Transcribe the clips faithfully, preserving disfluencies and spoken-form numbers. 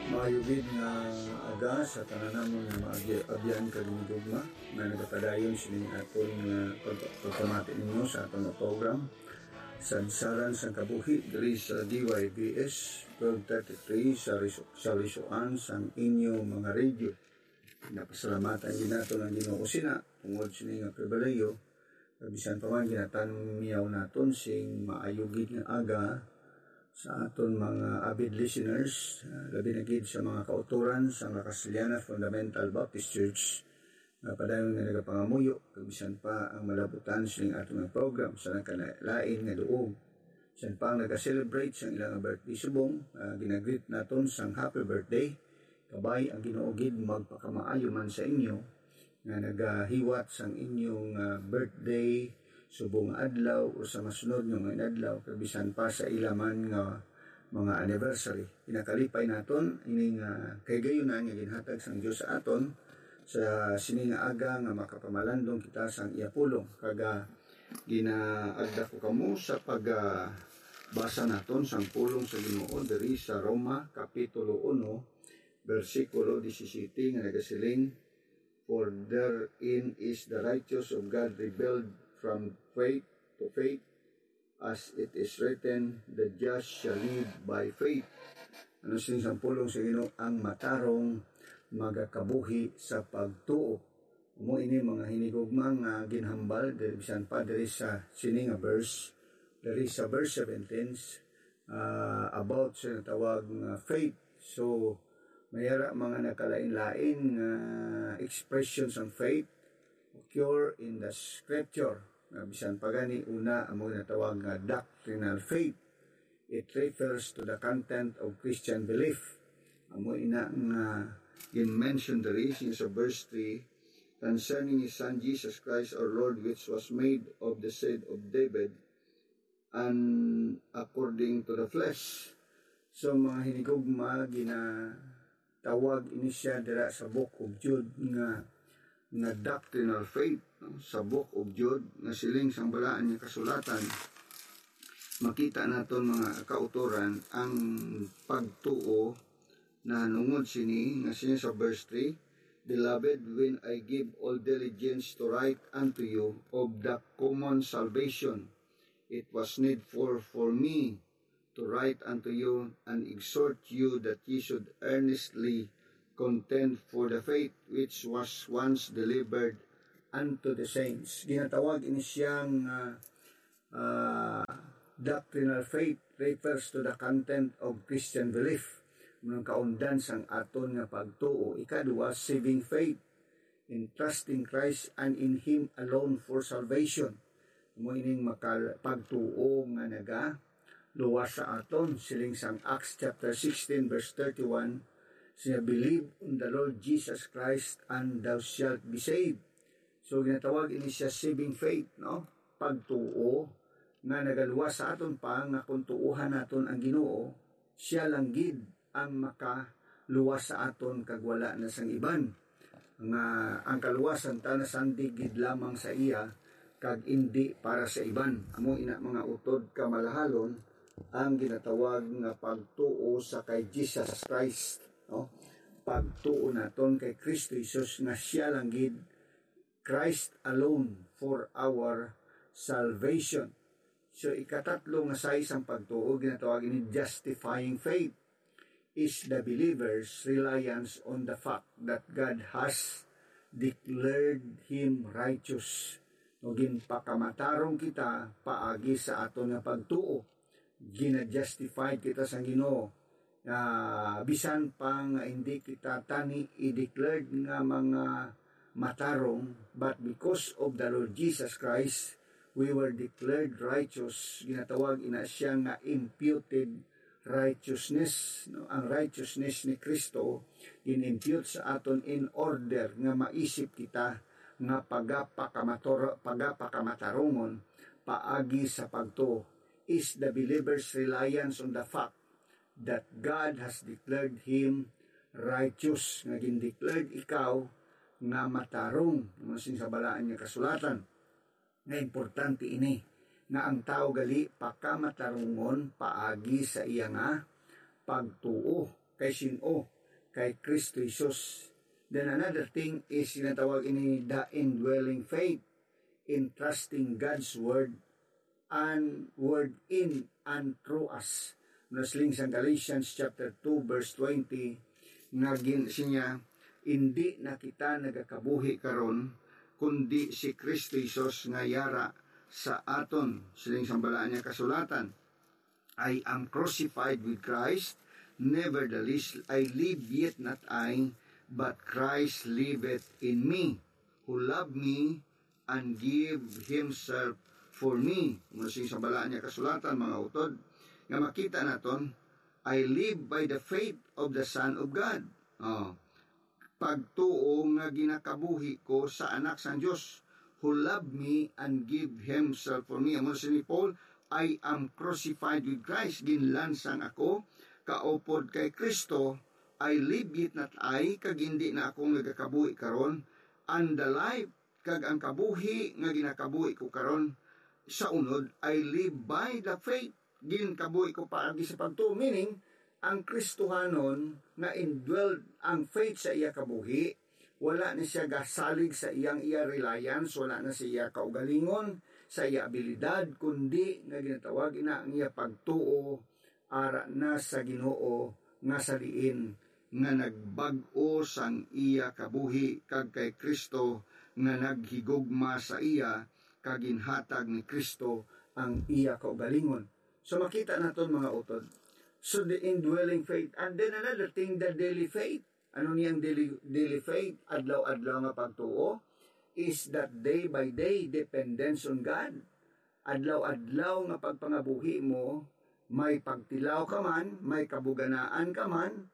Maayo gid nga aga sa tanan namon nga maabyan kag hinigugma nga nagapadayon sining aton nga pag-, pagpamati ninyo sa aton nga program, Sadsaran sang Kabuhi, diri sa D Y B S twelve thirty-three sa Riso-, sa Risoan sang inyo mga radio. Napasalamatan gid naton ang Ginoo sina tungod sini nga pribilehiyo, kag bisan pa man ginatanyaw naton sing maayo gid nga aga sa aton mga avid listeners, ah, labi na gid sa mga kautoran sang La Castellana Fundamental Baptist Church, nga padayon nga nagapangamuyo, kag bisan pa ang malabutan sining aton nga program sa nagkalain nga duog. Bisan pa ang naga-celebrate sang ilang birthday subong, ah, ginagreet naton sang happy birthday. Kabay ang Ginoo gid magpakamaayo man sa inyo nga nagahiwat sang inyong, ah, birthday, subong nga adlaw, o sa masunod nga mga inadlaw, kag bisan pa sa ila man nga mga anniversary. Ginakalipay naton ini nga kahigayunan nga ginhatag sang Dios sa aton sa sini nga aga nga makapamalandong kita sang iya pulong. Kag, ah, ginaagda ko kamo sa pag, ah, basa naton sang pulong sa Ginoo diri sa Roma Kapitulo uno, bersikulo disisiyete, nga nagasiling, "For therein is the righteous of God revealed from faith to faith, as it is written, 'The just shall live by faith.'" Ano sing sang pulong sa Ginoo? "Ang matarong magakabuhi sa pagtuo." Amo ini mga hinigugma nga ginhambal diri, bisan pa diri sa sini nga verse, diri sa verse seventeen, ah, about sa natawag nga faith. So, may ara mga nagkalain-lain nga expression sang faith occur in the scripture. Nga bisan pa gani, una, amo natawag nga doctrinal faith. It refers to the content of Christian belief. Amo ina nga gin-mention diri sa verse three, concerning his Son Jesus Christ our Lord, which was made of the seed of David and according to the flesh. So, mga hinigugma, ginatawag ini siya dira sa Book of Jude nga, nga doctrinal faith, no? Sa Book of Jude, nga siling sang Balaan nga Kasulatan, makita naton, mga kautoran, ang pagtuo nahanungod sini, nga siya sa verse three, "Beloved, when I give all diligence to write unto you of the common salvation, it was needful for me to write unto you and exhort you that ye should earnestly contend for the faith which was once delivered unto the saints." Ginatawag ini siya nga, ah, doctrinal faith refers to the content of Christian belief. Ang kaundan sang aton nga pagtuo. Ikaduha, saving faith, in trusting Christ and in Him alone for salvation. Amo ining makal-, pagtuo nga nagaluwas sa aton. Siling sang Acts chapter sixteen, verse thirty-one, siya, "Believe on the Lord Jesus Christ and thou shalt be saved." So, ginatawag ini siya saving faith, no? Pagtuo nga nagaluwas sa aton pa, nga kung tuohan naton ang Ginoo, siya lang gid ang makaluwas sa aton, kag wala na sang iban. Nga ang kaluwasan ta nasandig gid lamang sa iya, kag indi para sa iban. Amo ina, mga utod kamalahalon, ang ginatawag nga pagtuo sa kay Jesus Christ, no? Pagtuo naton kay Kristo Jesus nga siya lang gid, Christ alone for our salvation. So, ikatatlo nga size sang pagtuo, ginatawag ini justifying faith, is the believer's reliance on the fact that God has declared him righteous. No, ginpakamatarong kita paagi sa aton nga pagtuo. Gina-justified kita sa Ginoo. Ah, bisan pa nga hindi kita tani i-declared nga mga matarong, but because of the Lord Jesus Christ, we were declared righteous. Ginatawag ina siya nga imputed righteousness, no? Ang righteousness ni Kristo gin-impute sa aton in order nga maisip kita nga pagapakamator-, pagapakamatarungon paagi sa pagtuo, is the believer's reliance on the fact that God has declared him righteous, nga gin-declared ikaw nga matarong, ano sing sa Balaan nga Kasulatan. Nga importante ini, nga ang tawo gali pakamatarungon paagi sa iya nga pagtuo. Kay sin-o? kay Kristo Jesus. Then another thing is ginatawag ini the indwelling faith in trusting God's word and word in and through us. Nasiling sang Galatians chapter two verse twenty, nga gin-, siya, "Indi na kita nagakabuhi karon, kundi si Kristo Jesus nga yara sa aton." Siling sang Balaan nga Kasulatan, "I am crucified with Christ, nevertheless I live, yet not I, but Christ liveth in me, who loved me and give himself for me." Muna sing sa Balaan nga Kasulatan, mga utod, nga makita naton, "I live by the faith of the Son of God." Oh. Pagtuo nga ginakabuhi ko sa Anak sang Dios, who loved me and give himself for me. Amo si ni Paul, "I am crucified with Christ." Ginlansang ako kaupod kay Kristo. "I live, yet not I," kag hindi na ako nagakabuhi karon, and the life kag ang kabuhi nga ginakabuhi ko karon sa unod, "I live by the faith." Ginkabuhi ko paagi sa pagtuo, meaning, ang Kristohanon nga indwelled ang faith sa iya kabuhi, wala ni siya gasalig sa iyang iya reliance, wala na sa iya kaugalingon, sa iya abilidad, kundi nga ginatawag ina ang iya pagtuo ara na sa Ginoo, nga sa diin nga nagbag-o sang iya kabuhi, kag kay Kristo nga naghigugma sa iya, kag ginhatag ni Kristo ang iya kaugalingon. So makita naton, mga utod. So the indwelling faith. And then another thing, the daily faith. Ano niya ang daily, daily faith? Adlaw-adlaw nga pagtuo is that day by day dependence on God. Adlaw-adlaw nga pagpangabuhi mo, may pagtilaw ka man, may kabuganaan ka man,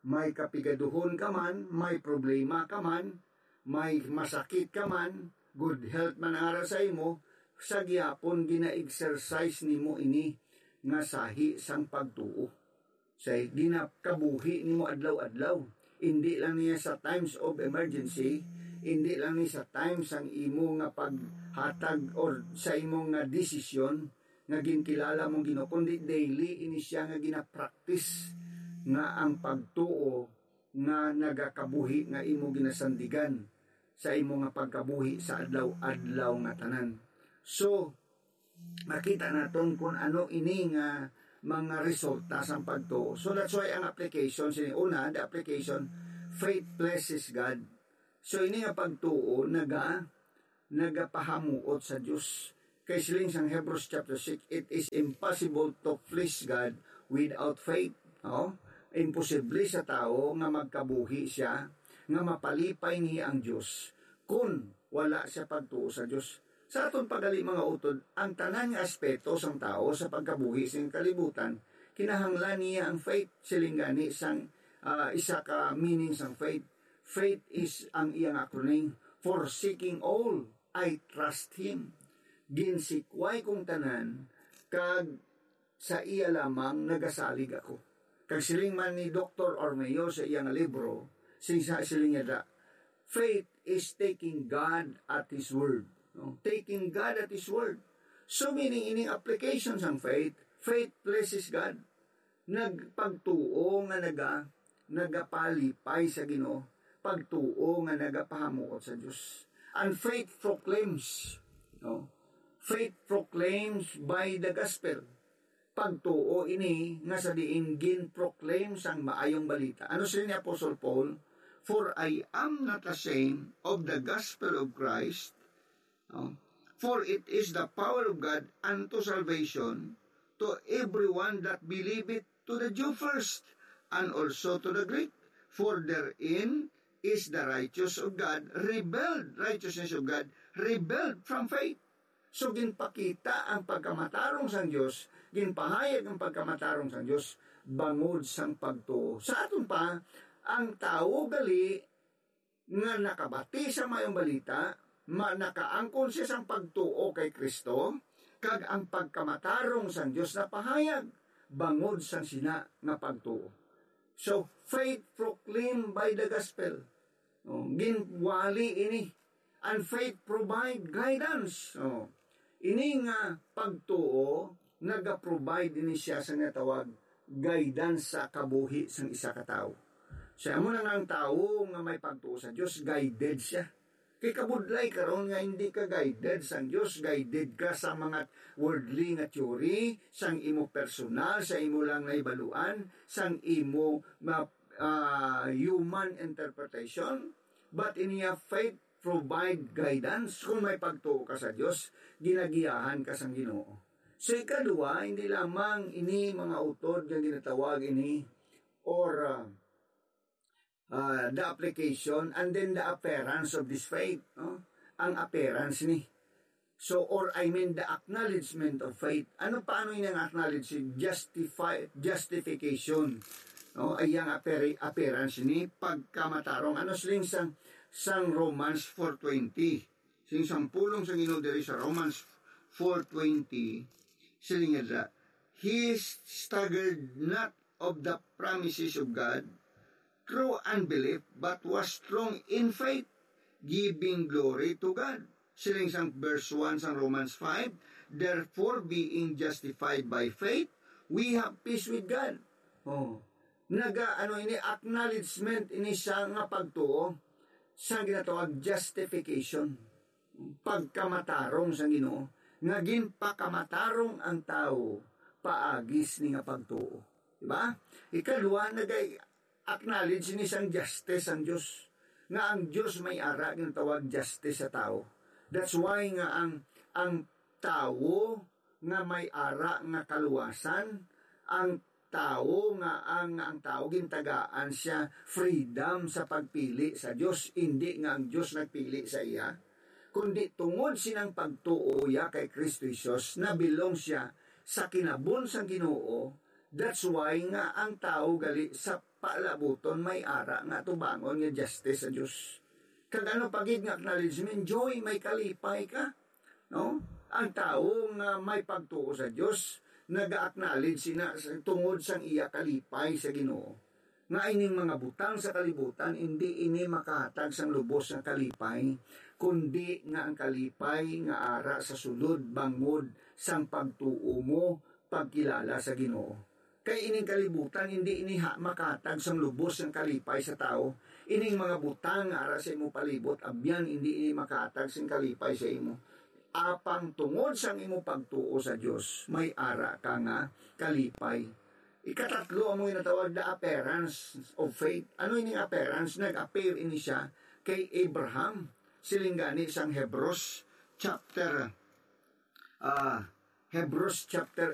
may kapigaduhon ka man, may problema ka man, may masakit ka man, good health man ara sa imo, sa gihapon gina-exercise nimo ini nga sahi sang pagtuo. Say, ginakabuhi nimo adlaw-adlaw. Hindi lang niya sa times of emergency, hindi lang ni sa times sang imo nga paghatag or sa imo nga desisyon nga ginkilala mong Ginoo, kundi daily ini siya nga ginapractice, nga ang pagtuo nga nagakabuhi nga imo ginasandigan sa imo nga pagkabuhi sa adlaw-adlaw nga tanan. So, makita naton kung ano ini nga mga resulta sang pagtuo. So that's why ang application, sini una, the application, faith pleases God. So ini nga pagtuo naga nagapahamuot sa Dios. Kay siling sang Hebrews chapter six, "It is impossible to please God without faith." No? Imposible sa tawo nga magkabuhi siya, nga mapalipay niya ang Dios, kun wala siya pagtuo sa Dios. Sa aton pagali, mga utod, ang tanan nga aspeto sang tawo sa pagkabuhi sing kalibutan, kinahanglan niya ang faith. Siling gani sang, ah, isa ka meaning sang faith. Faith is ang iyang acronym, forsaking all, I trust Him. Ginsikway kong tanan, kag sa iya lamang nagasalig ako. Kag siling man ni Doktor Ormeño sa iya nga libro, sing-, sa-, siling niya da, "Faith is taking God at His word." No? Taking God at His word. So, meaning, ining application sang faith, faith pleases God. Nagpagtuo nga naga-, nagapalipay sa Ginoo, pagtuo nga nagapahamuot sa Dios. And faith proclaims, no? Faith proclaims by the gospel. Pagtuo ini nga sa diin gin-proclaim sang maayong balita. Ano siya ni Apostle Paul? "For I am not ashamed of the gospel of Christ, no? For it is the power of God unto salvation to everyone that believeth, to the Jew first, and also to the Greek. For therein is the righteous of God revealed," righteousness of God revealed from faith. So, ginpakita ang pagkamatarong sang Dios, ginpahayag ang pagkamatarong sang Dios bangod sang pagtuo. Sa aton pa, ang tawo gali nga nakabati sa maayong balita, ma-, nakaangkon siya sang pagtuo kay Kristo, kag ang pagkamatarong sang Dios napahayag bangod sang sina nga pagtuo. So, faith proclaimed by the gospel. No, ginwali ini. And faith provide guidance. No, ini nga pagtuo, naga-provide ini siya sa nga tawag guidance sa kabuhi sang isa ka tawo. Sa amo na nga ang tawo nga may pagtuo sa Dios, guided siya. Kay kabudlay karon nga hindi ka guided sang Dios, guided ka sa mga worldly nga theory, sang imo personal, sa imo lang nahibaluan, sang imo ma-, ah, human interpretation. But in your faith, provide guidance. Kung may pagtuo ka sa Dios, ginagiyahan ka sang Ginoo. So, ikaduha, hindi lamang ini mga utod nga ginatawag ini or, ah, ah, the application and then the appearance of this faith, no? Ang appearance ni. So, or I mean, the acknowledgement of faith. Ano, paano ini ang acknowledge? Justify, justification. No? Ay ang appear-, appearance ni pagkamatarong. Ano siling sang, sang Romans four twenty? Sing sang pulong sang Ginoo diri sa Romans four twenty, siling niya, "He staggered not of the promises of God through unbelief, but was strong in faith, giving glory to God." Siling sang verse one sang Romans five, "Therefore, being justified by faith, we have peace with God." Oh. Naga, ano ini, acknowledgement ini siya nga pagtuo sa ginatawag justification, pagkamatarong sa Ginoo, nga ginpakamatarong ang tawo paagi sini nga pagtuo. Di ba? Ikaduha, nag-acknowledge ni sang justice ang Dios, nga ang Dios may ara ginatawag justice sa tawo. That's why nga ang, ang tawo nga may ara nga kaluwasan, ang tawo nga ang, ang tawo gintagaan siya freedom sa pagpili sa Dios, indi nga ang Dios nagpili sa iya, kundi tungod sinang pagtuo iya kay Kristo Jesus, nabilong siya sa kinabon sang Ginoo. That's why nga ang tawo gali sa palabuton may ara nga atubangon nga justice sa Dios. Kag ano pa gid nga acknowledgement, joy, may kalipay ka. No? Ang tawo nga may pagtuo sa Dios, naga-acknowledge sina sa-, tungod sang iya kalipay sa Ginoo. Nga ining mga butang sa kalibutan, indi ini makahatag sang lubos nga kalipay, kundi nga ang kalipay nga ara sa sulod bangod sang pagtuo mo, pagkilala sa Ginoo. Kay ining kalibutan, hindi ini ha-, makahatag sang lubos nga kalipay sa tawo. Ining mga butang nga ara sa imo palibot, abyan, hindi ini makahatag sing kalipay sa imo. Apang tungod sang imo pagtuo sa Dios, may ara ka nga kalipay. Ikatatlo, amo ginatawag the appearance of faith. Ano ining appearance? Nag-appear ini siya kay Abraham. Siling gani sang Hebrews chapter, ah, Hebrews chapter